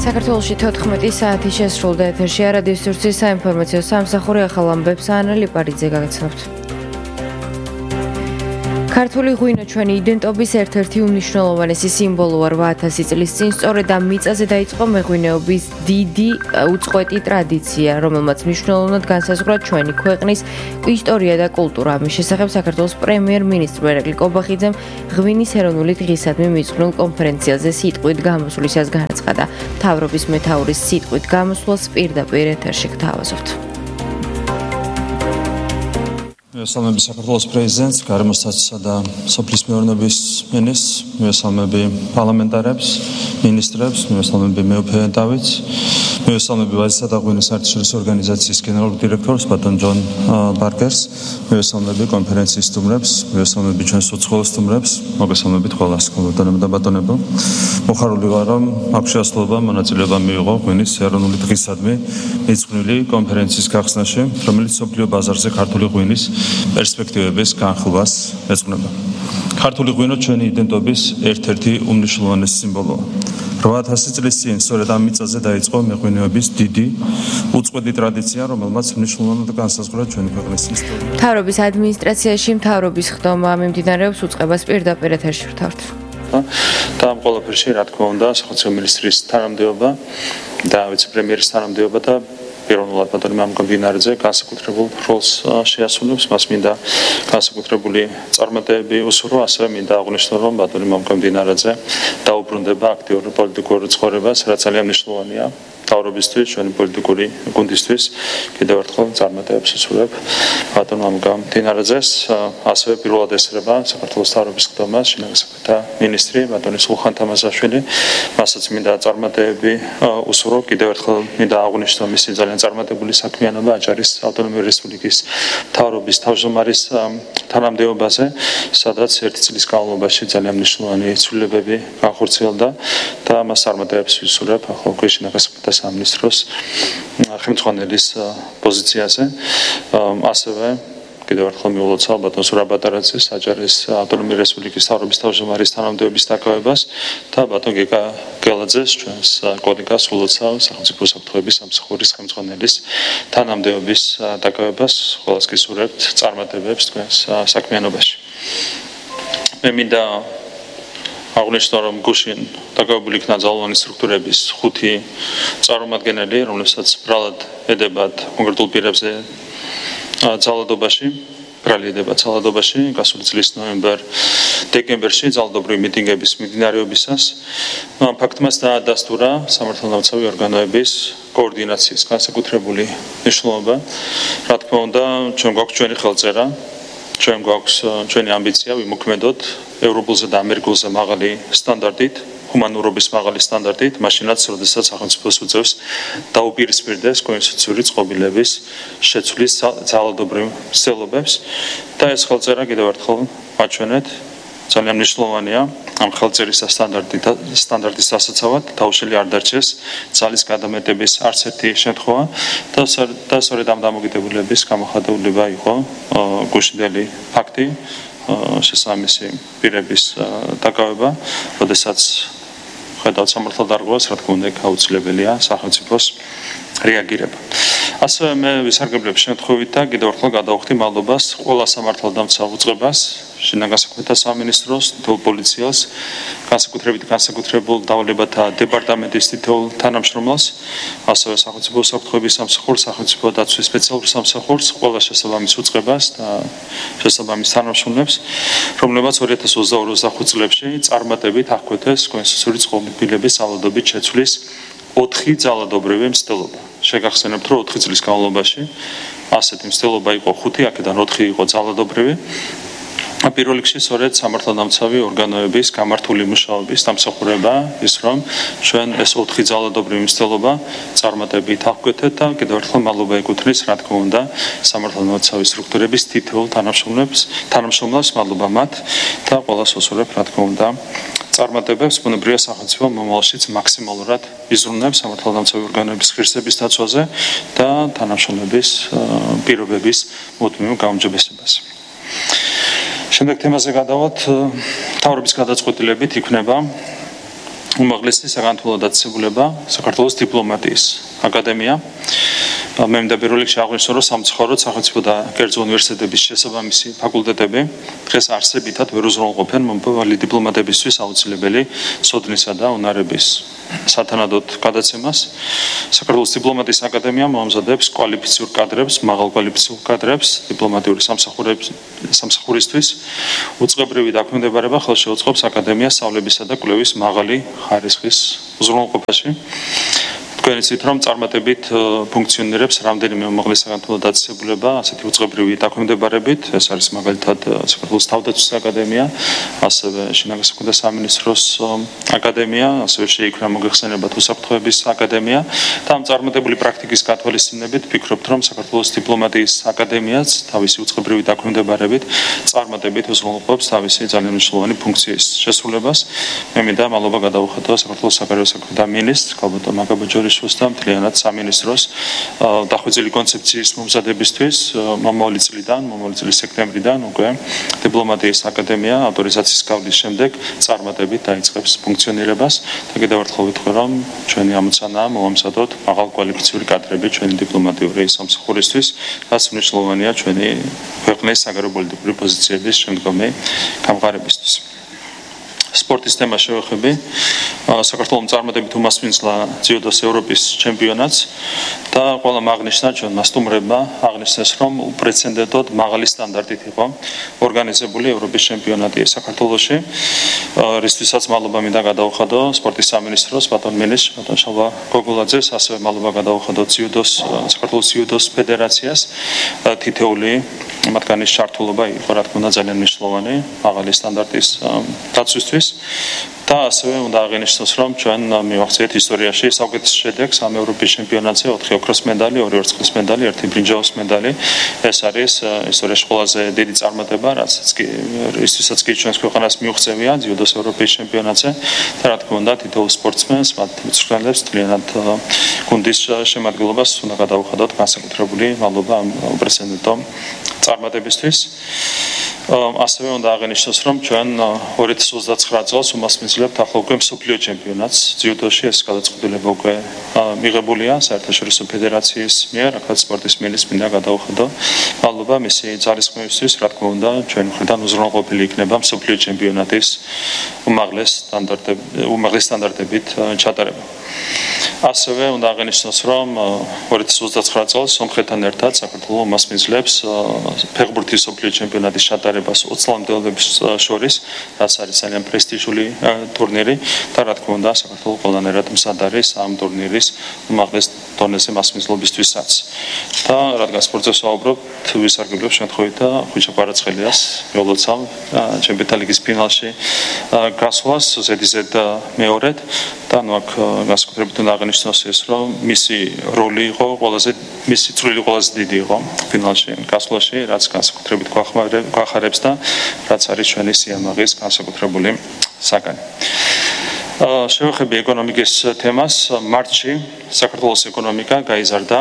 საქართველოში 14 საათი შესრულდა ეთერში რადიო სივრცის საინფორმაციო სამსახური ახალ ამბებს ანა ლიპარიძე გაგაცნობთ. ქართული ღვინო ჩვენი იდენტობის ერთ-ერთი უმნიშვნელოვანესი სიმბოლოა 8000 წლის წინ სწორედ ამ მიწაზე დაიწყო მეღვინეობის დიდი უწყვეტი ტრადიცია, რომელმაც მნიშვნელოვნად განსაზღვრა ჩვენი ქვეყნის ისტორია და კულტურა. ამის შესახებ საქართველოს პრემიერ-მინისტრი ერაკლი კობახიძემ ღვინის ეროვნული დღისადმი მიძღვნილ კონფერენციაზე სიტყვით გამოსვლისას განაცხადა. მთავრობის მეთაურის სიტყვით გამოსვლას პირდაპირ ეთერში გთავაზობთ. მესალმები საქართველოს პრეზიდენტს, გარემოსტატსა და სოფლის მეურნეობის მინისტრს, მესალმები პარლამენტარებს, მინისტრებს, მესალმები მეუფე დავით, მესალმები ვაზისა და ღვინის საერთაშორისო ორგანიზაციის გენერალურ დირექტორს ბატონ ჯონ ბარკერს, მესალმები კონფერენციის სტუმრებს, მესალმები ჩვენს უცხოელ სტუმრებს, მოგესალმებით ყველას, ბატონებო და ბატონებო. მოხარული ვარ, რომ აქ შეასრულება მონაწილეობა მიიღო ღვინის ეროვნული დღისადმი მიძღვნილი კონფერენციის გახსნაში, რომელიც მსოფლიო ბაზარზე ქართული ღვინის პერსპექტივების განხილვას ეძღვნება. ქართული ღვინო ჩვენი იდენტობის ერთ-ერთი უმნიშვნელოვანესი სიმბოლოა. 8000 წლის წინ სწორედ ამ მიწაზე დაიწყო მეღვინეობის დიდი უწყვეტი ტრადიცია, რომელმაც მნიშვნელოვნად განსაზღვრა ჩვენი ქვეყნის ისტორია. მთავრობის ადმინისტრაციაში მთავრობის ხდომა მიმდინარეობს უწყებას პირდაპირ ეთერში ვთავთ. და ამ ყველაფერში, რა თქმა უნდა, სახელმწიფო მინისტრის თანამდებობა და ვიცე-პრემიერის თანამდებობა და პიროვნულად ბატონი მამუკამბინარიძე განსაკუთრებულ როლს შეასრულებს. მას მინდა განსაკუთრებული წარმატებები უსურვო, ასევე მინდა აღვნიშნო, რომ ბატონი მამუკამბინარიძე დაუბრუნდება აქტიურ პოლიტიკურ ცხოვრებას, რაც ძალიან მნიშვნელოვანია მთავრობისთვის, ჩვენი პოლიტიკური გუნდისთვის. კიდევ ერთხელ წარმატებებს უსურვებ ბატონ მამუკამბინარიძეს, ასევე პირველად ესწრება საქართველოს მთავრობის ხდომას შინაგან საქმეთა მინისტრი ბატონი სულხან თამაზაშვილი. მასაც მინდა წარმატებები უსურვო. კიდევ ერთხელ მინდა აღვნიშნო მისი ძალიან წარმატებული საქმიანობა აჭარის ავტონომიური რესპუბლიკის მთავრობის თავმჯდომარის თანამდებობაზე, სადაც ერთი წლის განმავლობაში ძალიან მნიშვნელოვანი ცვლილებები განხორციელდა და მას წარმატებებს ვისურვებ ახალ შინაგან საქმეთა სამინისტროს ხელმძღვანელის პოზიციაზე. ასევე კიდევ ერთხელ მიულოცავ ბატონ სურაბატარაძეს აჭარის ავტონომიური რესპუბლიკის მთავრობის თავმჯდომარის თანამდებობის დაკავებას და ბატონ გეკა გელაძეს, ჩვენს კოლეგას ულოცავ სახელმწიფო საფრთხეების სამსახურის ხელმძღვანელის თანამდებობის დაკავებას. ყველას გისურვებთ წარმატებებს თქვენს საქმიანობაში. მე მინდა აღვნიშნო, რომ გუშინ დაკავებული იქნა ძალოვანი სტრუქტურების 5 წარმომადგენელი, რომლებსაც ბრალად ედებათ კონკრეტულ პირებზე ძალადობაში, ბრალი ედებათ ძალადობაში, გასული წლის ნოემბერ-დეკემბერში ძალადობრივი მიტინგების მიმდინარეობისას. ამ ფაქტმა დაადასტურა სამართალდამცავი ორგანოების კოორდინაციის განსაკუთრებული მნიშვნელობა. რა თქმა უნდა, ჩვენ გვაქვს ჩვენი ხელწერა, ჩვენ გვაქვს ჩვენი ამბიცია ვიმოქმედოთ ევროპულზე და ამერიკულზე მაღალი სტანდარტით, ჰუმანურობის მაღალი სტანდარტით, მაშინაც, როდესაც სახელმწიფოს უწევს დაუპირისპირდეს კონსტიტუციური წყობილების შეცვლის ძალადობრივ მცდელობებს და ეს ხელწერა კიდევ ერთხელ მაჩვენეთ ძალიან მნიშვნელოვანია ამ ხელწერის სტანდარტის დასაცავად დაუშველი არ დარჩეს ძალის გადამეტების არც ერთი შემთხვევა და სწორედ ამ დამოკიდებულების გამოხატულება იყო გუშინდელი ფაქტი შესაბამისი პირების დაკავება, როდესაც ხედავთ სამართალდარღვევას, რა თქმა უნდა, აუცილებელია სახელმწიფოს რეაგირება. ასევე მე ვისარგებლებ შემთხვევით და კიდევ ერთხელ გადავხდი მადლობას ყველა სამართალდამცავ უწყებას, შინაგან საქმეთა სამინისტროს, თითოეულ პოლიციას, განსაკუთრებით განსაკუთრებულ დავალებათა დეპარტამენტის თითოეულ თანამშრომელს, ასევე სახელმწიფო საფრთხეების სამსახურს, სახელმწიფო დაცვის სპეციალურ სამსახურს, ყველა შესაბამის უწყებას და შესაბამის თანამშრომლებს, რომლებაც 2022-25 წლებში წარმატებით აღკვეთეს კონსტიტუციური წყობილების ძალადობით შეცვლის 4 ძალადობრივი მცდელობა. შეგახსენებთ, რომ 4 წლის განმავლობაში ასეთი მცდელობა იყო 5, აქედან 4 იყო ძალადობრივი. პირველ რიგში სწორედ სამართალდამცავი ორგანოების გამართული მუშაობის დამსახურება ის, რომ ჩვენ ეს 4 ძალადობრივი მცდელობა წარმატებით აღკვეთეთ და კიდევ ერთხელ მადლობა ეკუთვნის, რა თქმა უნდა, სამართალდამცავი სტრუქტურების თითოეულ თანამშრომლებს, მადლობა მათ და ყველას უსურვებ, რა თქმა უნდა, წარმატებებს ბუნებრივია სახელმწიფო მომავალშიც მაქსიმალურად იზრუნებს სამართალდამცავი ორგანოების ღირსების დაცვაზე და თანამშრომლების პირობების მუდმივ გაუმჯობესებას. შემდეგ თემაზე გადავთ, მთავრობის გადაწყვეტილებით იქნება უმაღლესი საგანმანათლებლო დაწესებულება საქართველოს დიპლომატიის აკადემია. მე მინდა პირველ რიგში აღვნიშნო, რომ სამწუხაროდ სახელმწიფო და კერძო უნივერსიტეტების შესაბამისი ფაკულტეტები დღეს არსებითად ვერ უზრუნველყოფენ მომავალი დიპლომატებისთვის აუცილებელი სოდნისა და უნარების სათანადოდ გადაცემას. საქართველოს დიპლომატიის აკადემია მოამზადებს კვალიფიციურ კადრებს, მაღალკვალიფიციურ კადრებს დიპლომატიური სამსახურისთვის. უწყებრივი დაქვემდებარება ხელში უწყობს აკადემიას სწავლებისა და კვლევის მაღალი ხარისხის უზრუნველყოფაში. თქვენ იცით, რომ წარმატებით ფუნქციონირებს რამდენიმე უმაღლესი საგანმანათლებლო დაწესებულება, ასეთი უწყებრივი დაქვემდებარებით. ეს არის მაგალითად საქართველოს თავდაცვის აკადემია, ასევე შინაგან საქმეთა სამინისტროს აკადემია, ასევე შეიქმნა მოგეხსენებათ უსაფრთხოების აკადემია და ამ წარმატებული პრაქტიკის გათვალისწინებით ვფიქრობთ, რომ საქართველოს დიპლომატიის აკადემიაც თავისი უწყებრივი დაქვემდებარებით წარმატებით უზრუნველყოფს თავისი ძალიან მნიშვნელოვანი ფუნქციის შესრულებას. მე მინდა მადლობა გადაუხადო საქართველოს საგარეო საქმეთა მინისტრს ქალბატონ მაგაბაჯორი და მთლიანად სამინისტროს დახვეწილი კონცეფციის მომზადებისთვის მომავალი წლის სექტემბრიდან უკვე დიპლომატიის აკადემია ავტორიზაციის გავლის შემდეგ წარმატებით დაიწყებს ფუნქციონირებას და კიდევ ერთხელ ვიტყვი, რომ ჩვენი ამოცანაა მოვამზადოთ მაღალკვალიფიციური კადრები ჩვენი დიპლომატიური სამსახურისთვის, რაც მნიშვნელოვანია ჩვენი ქვეყნის საგარეო პოლიტიკური პოზიციების შემდგომი გამყარებისთვის. სპორტის თემა შევეხები. საქართველოს წარმატებით უმასპინძლა ძიუდოს ევროპის ჩემპიონატს და ყველამ აღნიშნა, ჩვენმა სტუმრებმა აღნიშნეს, რომ უპრეცედენტოდ მაღალი სტანდარტით იყო ორგანიზებული ევროპის ჩემპიონატი საქართველოში, რისთვისაც მადლობა მინდა გადაუხადო სპორტის სამინისტროს ბატონ მინისტრს, ბატონ შალვა გოგოლაძეს, ასევე მადლობა გადაუხადო საქართველოს ძიუდოს ფედერაციას. თითეული მათგანის ჩართულობა იყო, რა თქმა უნდა, ძალიან მნიშვნელოვანი მაღალი სტანდარტის დაცვისთვის. და ასევე უნდა აღინიშნოს, რომ ჩვენ მივახციეთ ისტორიაში საუკეთესო შედეგს ამ ევროპის ჩემპიონატზე 4 ოქროს მედალი, 2 ვერცხლის მედალი, 1 ბრინჯაოს მედალი. ეს არის ისტორიაში ყველაზე დიდი წარმატება, რისთვისაც კი ჩვენს ქვეყანას მიუღწევია ძიუდოს ევროპის ჩემპიონატზე და რა თქმა უნდა თითოეულ სპორტსმენს, მათ მწვრთნელებს მთლიანად გუნდის შემადგენლობას უნდა გადაუხადოთ განსაკუთრებული მადლობა ამ უპრეცედენტო წარმატებისთვის. ასევე უნდა აღინიშნოს, რომ ჩვენ 2029 წელს უმასპინძლებთ ახლა უკვე მსოფლიო ჩემპიონატს ძიუდოში. ეს გადაწყვეტილება უკვე მიღებულია საერთაშორისო ფედერაციის მიერ, აქაც სპორტის მინისტრს მინდა გადაუხადო მადლობა მისი ძალისხმევისთვის. რა თქმა უნდა, ჩვენ მხრიდან უზრუნველყოფილი იქნება მსოფლიო ჩემპიონატის უმაღლეს სტანდარტებით ჩატარება. ასევე უნდა აღინიშნოს, რომ 2029 წელს სომხეთთან ერთად საქართველო უმასპინძლებს ფეხბურთის მსოფლიო ჩემპიონატის ჩატარებას 20 ლამდელებს შორის, რაც არის ძალიან პრესტიჟული ტურნირი და რა თქმა უნდა საქართველო ყველანაირად მზად არის ამ ტურნირის უმაღლეს დონეზე მასპინძლობისთვისაც. და რადგან სპორტზე ვსაუბრობთ, ვისარგებლებ შემთხვევით და ხვიჩა კვარაცხელიას მიულოცავ ჩემპიონთა ლიგის ფინალში გასვლას ზედიზედ მეორედ და აქ განსაკუთრებით უნდა აღინიშნოს ის, რომ მისი როლი იყო მისი წვლილი ყველაზე დიდი იყო ფინალში გასვლაში, რაც განსაკუთრებით გვახარებს და რაც არის ჩვენი სიამაღის განსაკუთრებული საგანი. შევეხები ეკონომიკის თემას. მარტში საქართველოს ეკონომიკა გაიზარდა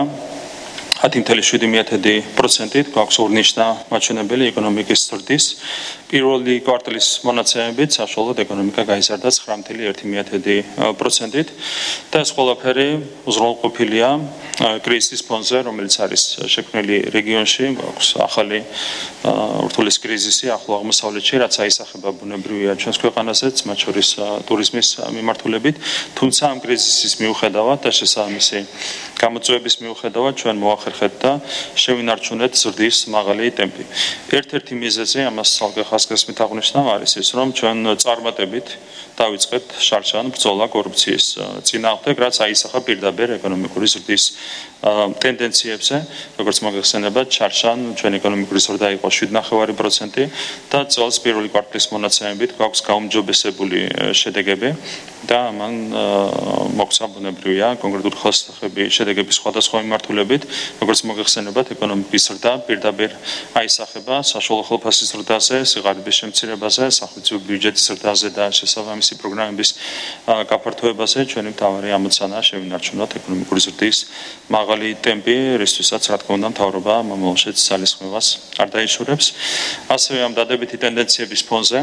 10.7%-ით, გვაქვს ორნიშნა მაჩვენებელი ეკონომიკის ზრდის. პირველი კვარტალის მონაცემებით საშუალოდ ეკონომიკა გაიზარდა 9.1%-ით და ეს ყველაფერი უზრუნველყოფილია კრიზისის ფონზე, რომელიც არის შექმნილი რეგიონში. გვაქვს ახალი ურთულეს კრიზისი ახლო აღმოსავლეთში, რაც აისახება ბუნებრივია ჩვენს ქვეყანაზეც, მათ შორის ტურიზმის მიმართულებით. თუმცა ამ კრიზისის მიუხედავად და შესაბამისი გამოწვევების მიუხედავად ჩვენ მოახერხეთ და შევინარჩუნეთ ზრდის მაღალი ტემპი. ერთ-ერთი მიზეზი ამას ცალკე ხასკესმით აღნიშნავ არის ის, რომ ჩვენ წარმატებით დავიწყეთ შარშან ბრძოლა კორუფციის წინააღმდეგ, რაც აისახა პირდაპირ ეკონომიკური ზრდის ტენდენციებზე. როგორც მოგეხსენებათ, შარშან ჩვენ ეკონომიკური ზრდა იყო 7.9% და წელს პირველი კვარტალის მონაცემებით გვაქვს გაუმჯობესებული შედეგები და ამან მოგვცა ბუნებრივია კონკრეტული ხელშესახები შედეგების სხვადასხვა მიმართულებით. როგორც მოგეხსენებათ, ეკონომიკის ზრდა პირდაპირ აისახება საშუალო ხელფასის ზრდაზე, სიღარიბის შემცირებაზე, სახელმწიფო ბიუჯეტის ზრდაზე და შესაბამისი პროგრამების გაფართოებაზე. ჩვენი მთავარი ამოცანაა შევინარჩუნოთ ეკონომიკური ზრდის მაღალი ტემპი, რისთვისაც რა თქმა უნდა მთავრობა მომავალშიც ძალისხმევას არ დაიშურებს. ასევე ამ დადებითი ტენდენციების ფონზე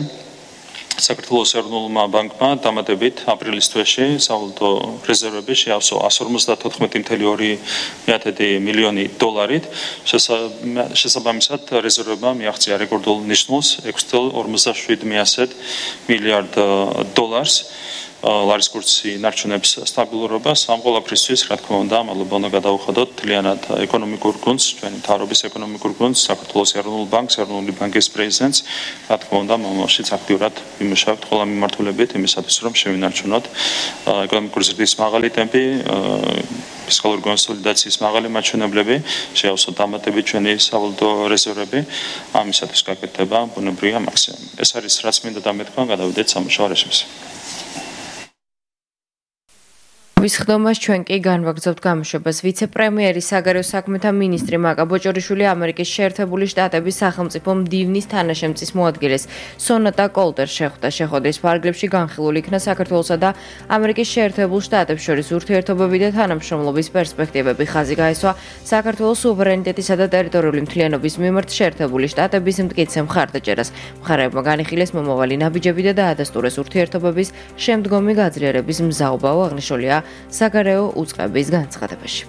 საქართველოს ეროვნულმა ბანკმა დამატებით აპრილის თვეში სავალუტო რეზერვები შეავსო 152.2 მილიონი დოლარით. შესაბამისად რეზერვებმა მიაღწია რეკორდულ ნიშნულს 6.57 მილიარდ დოლარს. ლარის კურსი ნარჩუნებს სტაბილურობას. ამ ყველაფრისთვის, რა თქმა უნდა, მადლობა უნდა გადაუხადოთ თლიანად ეკონომიკურ გუნდს, ჩვენი მთავრობის ეკონომიკურ გუნდს, საქართველოს ეროვნულ ბანკს, ეროვნული ბანკის პრეზიდენტს. რა თქმა უნდა, მომავალშიც აქტიურად ვიმუშავებთ ყველა მიმართულებით იმისათვის, რომ შევინარჩუნოთ ეკონომიკური ზრდის მაღალი ტემპი, ფისკალური კონსოლიდაციის მაღალი მაჩვენებლები, შეავსოთ დამატებით ჩვენი სავალუტო რეზერვები. ამისათვის გაკეთდება ბუნებრივია მაქსიმუმი. ეს არის რაც მინდა დამეთქვა, გადავიდეთ სამუშაო რეჟიმზე. ვისხდომას ჩვენ კი განვაგრძობთ გამოშვებას. ვიცე-პრემიერი საგარეო საქმეთა მინისტრი მაკა ბოჭორიშვილი ამერიკის შეერთებული შტატების სახელმწიფო მდივნის თანაშემწის მოადგილეს სონატა კოლტერს შეხვდა. შეხვედრის ფარგლებში განხილული იქნა საქართველოსა და ამერიკის შეერთებულ შტატებს შორის ურთიერთობები და თანამშრომლობის პერსპექტივები. ხაზი გაესვა საქართველოს სუვერენიტეტისა და ტერიტორიული მთლიანობის მიმართ შეერთებული შტატების მტკიცე მხარდაჭერას. მხარეებმა განიხილეს მომავალი ნაბიჯები და დაადასტურეს ურთიერთობების შემდგომი გაძლიერების მზაობა. აღნიშნულია საგარეო უწყების განცხადებაში.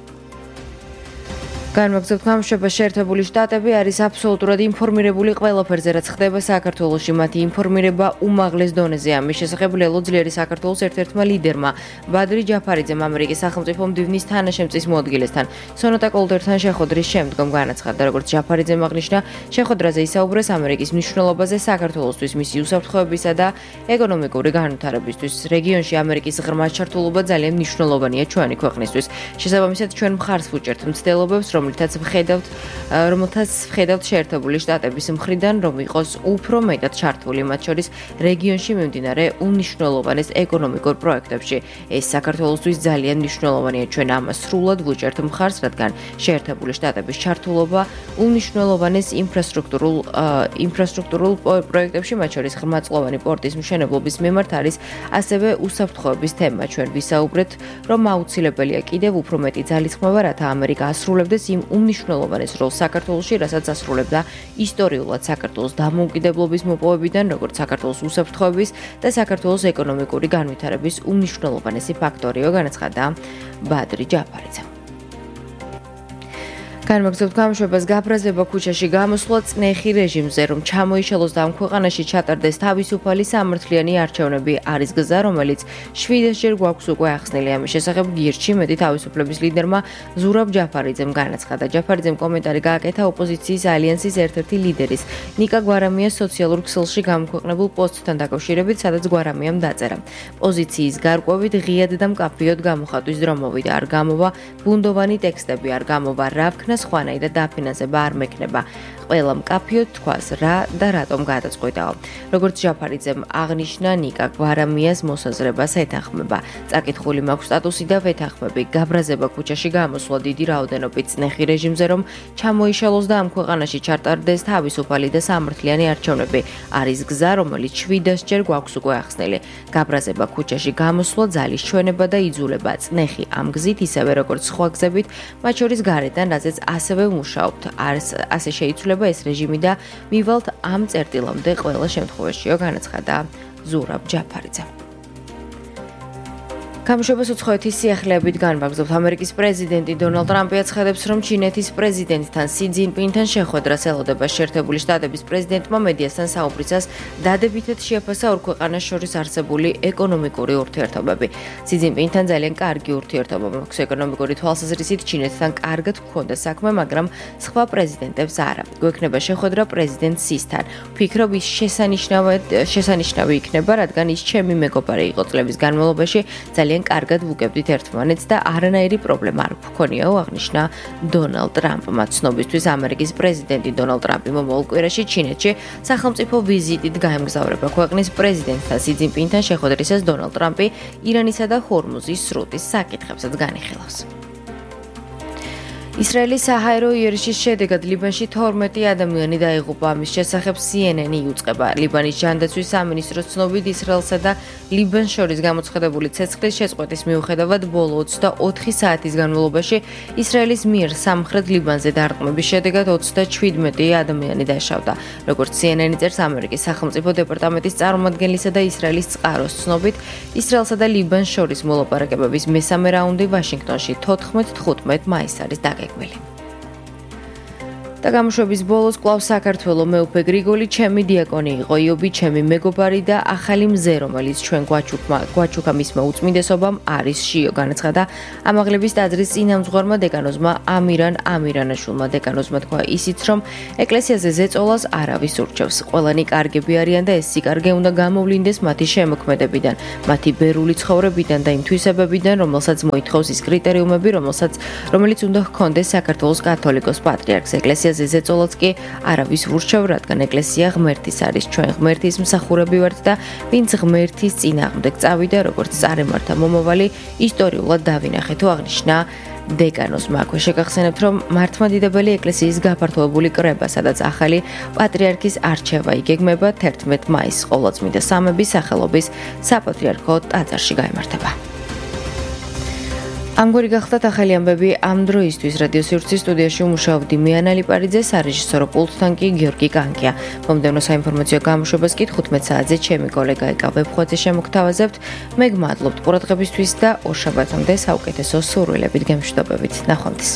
განვაგრძობთ გამოშვებას. შეერთებული შტატები არის აბსოლუტურად ინფორმირებული ყველაფერზე, რაც ხდება საქართველოში. მათი ინფორმირება უმაღლეს დონეზეა. ამის შესახებ ლელო ძლიერი საქართველოს ერთ-ერთმა ლიდერმა ბადრი ჯაფარიძემ ამერიკის სახელმწიფო მდივნის თანაშემწის მოადგილესთან სონატა კოლტერთან შეხვედრის შემდგომ განაცხადა. როგორც ჯაფარიძემ აღნიშნა, შეხვედრაზე ისაუბრეს ამერიკის მნიშვნელობაზე საქართველოსთვის, მისი უსაფრთხოებისა და ეკონომიკური განვითარებისთვის. რეგიონში ამერიკის ღრმა ჩართულობა ძალიან მნიშვნელოვანია ჩვენი ქვეყნისთვის. შესაბამისად, ჩვენ მხარს ვუჭერთ მცდელობებს, რომელთაც ვხედავთ შეერთებული შტატების მხრიდან, რომ იყოს უფრო მეტად ჩართული მათ შორის რეგიონში მიმდინარე უნიშნულოვანეს ეკონომიკურ პროექტებში. ეს საქართველოსთვის ძალიან მნიშვნელოვანია. ჩვენ ამას სრულად ვუჭერთ მხარს, რადგან შეერთებული შტატების ჩართულობა უნიშნულოვანეს ინფრასტრუქტურულ პროექტებში, მათ შორის ღრმაწლოვანი პორტის მშენებლობის მიმართ არის ასევე უსაფრთხოების თემა. ჩვენ ვისაუბრეთ, რომ აუცილებელია კიდევ უფრო მეტი ძალისხმევა, რათა ამერიკა ასრულებდეს იმ უმნიშვნელოვანეს როლს საქართველოში, რასაც ასრულებდა ისტორიულად საქართველოს დამოუკიდებლობის მოპოვებიდან, როგორც საქართველოს უსაფრთხოების და საქართველოს ეკონომიკური განვითარების უმნიშვნელოვანესი ფაქტორიო, განაცხადა ბადრი ჯაფარიძე. განვაგრძობთ გამოშვებას. გაბრაზება ქუჩაში გამოსვლა წნეხი რეჟიმზე, რომ ჩამოიშალოს და ამ ქვეყანაში ჩატარდეს თავისუფალი სამართლიანი არჩევნები არის გზა, რომელიც 7-ჯერ გვაქვს უკვე ახსნილი. ამის შესახებ გირჩი მეტი თავისუფლების ლიდერმა ზურაბ ჯაფარიძემ განაცხადა. ჯაფარიძემ კომენტარი გააკეთა ოპოზიციის ალიანსის ერთ-ერთი ლიდერის ნიკა გვარამიას სოციალურ ქსელში გამოქვეყნებულ პოსტთან დაკავშირებით, სადაც გვარამიამ დაწერა: პოზიციის გარკვევით ღიად და მკაფიოდ გამოხატვის დრო მოვიდა, არ გამოვა ბუნდოვანი ტექსტები, არ გამოვა რავქნა სხვანაი და დაფინანსება არ მექნება. ყველა მკაფიოდ თქვას რა და რატომ გადაწყვეტაო. როგორც ჯაფარიძემ აღნიშნა, ნიკა გვარამიას მოსაზრებას ეთანხმება. წაკითხული მაქვს სტატუსი და ვეთანხმები. გაბრაზება ქუჩაში გამოსვლა დიდი რაოდენობით წნეხი რეჟიმზე, რომ ჩამოიშალოს და ამ ქვეყანაში ჩატარდეს თავისუფალი და სამართლიანი არჩევნები არის გზა, რომელიც 7-ჯერ გვაქვს უკვე ახსნილი. გაბრაზება ქუჩაში გამოსვლა ძალის ჩვენება და იძულება. წნეხი ამ გზით ისევე როგორც სხვა გზებით, მათ შორის გარედან, რაზეც ასევე ვმუშაობთ. ასე შეიცვლება ეს რეჟიმი და მივალთ ამ წერტილამდე ყველა შემთხვევაშიო, განაცხადა ზურაბ ჯაფარიძე. გამოშვებას უცხოეთის სიახლეებით განვაგრძობთ. ამერიკის პრეზიდენტი დონალდ ტრამპი აცხადებს, რომ ჩინეთის პრეზიდენტთან სი ძინპინთან შეხვედრას ელოდება. შეერთებული შტატების პრეზიდენტმა მედიასთან საუბრისას დადებითად შეაფასა ორ ქვეყანას შორის არსებული ეკონომიკური ურთიერთობები. სი ძინპინთან ძალიან კარგი ურთიერთობა მაქვს ეკონომიკური თვალსაზრისით, ჩინეთთან კარგად გვქონდა საქმე, მაგრამ სხვა პრეზიდენტებს არა. გვექნება შეხვედრა პრეზიდენტ სისთან. ვფიქრობ, ის შესანიშნავი იქნება, რადგან ის ჩემი მეგობარი იყო წლების განმავლობაში. ძალიან კარგად ვუგებდით ერთმანეთს და არანაირი პრობლემა არ გვქონიაო, აღნიშნა დონალდ ტრამპმა. ცნობისთვის ამერიკის პრეზიდენტი დონალდ ტრამპი მომავალ კვირაში ჩინეთში სახელმწიფო ვიზიტით გაემგზავრება. ქვეყნის პრეზიდენტთან სი ძინპინთან შეხვედრისას დონალდ ტრამპი ირანისა და ჰორმუზის სრუტის საკითხებსაც განიხილავს. ისრაელის საჰაერო იერიში შედეგად ლიბანში 12 ადამიანი დაიღუპა. ამის შესახებ CNN-ი იუწყება. ლიბანის ჯანდაცვის სამინისტროს ცნობით ისრაელსა და ლიბანს შორის გამოცხადებული ცეცხლის შეწყვეტის მიუხედავად ბოლო 24 საათის განმავლობაში ისრაელის მიერ სამხრეთ ლიბანზე დარტყმების შედეგად 37 ადამიანი დაშავდა. როგორც CNN-ი წერს, ამერიკის სახელმწიფო დეპარტამენტის წარმომადგენლისა და ისრაელის წყაროს ცნობით, ისრაელსა და ლიბანს შორის მოლაპარაკებების მესამე რაუნდი ვაშინგტონში 14-15 მაისს არის დაგეგმილი. და გამოშვების ბოლოს კვლავ საქართველოს მეუფე გრიგოლი ჩემი დიაკონი იყო, იობი ჩემი მეგობარი და ახალი მზე, რომელიც ჩვენ გვაჩუქა მისმა უწმინდესობამ არის შიო, განაცხადა ამაღლების ტაძრის წინამძღვარმა დეკანოზმა ამირან ამირანაშვილმა. დეკანოზმა თქვა ისიც, რომ ეკლესიაზე ზეწოლას არავის ურჩევს. ყველანი კარგები არიან და ეს სიკარგე უნდა გამოვლინდეს მათი შემოქმედებიდან, მათი ბერული ცხოვრებიდან და იმ თვისებებიდან, რომელსაც მოითხოვს ის კრიტერიუმები, რომელიც უნდა ჰქონდეს საქართველოს კათოლიკოს პატრიარქს. ეკლესიაზე ზეწოლაც კი არავის ურჩევ, რადგან ეკლესია ღმერთის არის. ჩვენ ღმერთის მსახურები ვართ და ვინც ღმერთის წინააღმდეგ წავიდა, როგორც წარემართა მომავალი, ისტორიულად დავინახეთ, თუ აღნიშნა დეკანოზმა. აქვე შეგახსენებთ, რომ მართლმადიდებელი ეკლესიის გაფართოებული კრება, სადაც ახალი პატრიარქის არჩევა იგეგმება 11 მაისს ყოვლადწმინდა სამების სახელობის საპატრიარქო ტაძარში გაიმართება. ამგვარი გახლდათ ახალი ამბები ამ დროისთვის. რადიო სივრცის სტუდიაში მუშაობდი მე ანა ლიპარიძე, სარეჟისორო პულტთან კი გიორგი კანკია. მომდევნო საინფორმაციო გამოშვებას კი 15 საათზე ჩემი კოლეგა ეკა ვებხვაძე შემოგთავაზებთ. მე გმადლობთ ყურადღებისთვის და ორ შაბათამდე საუკეთესო სურვილებით გემშვიდობებით. ნახვამდის.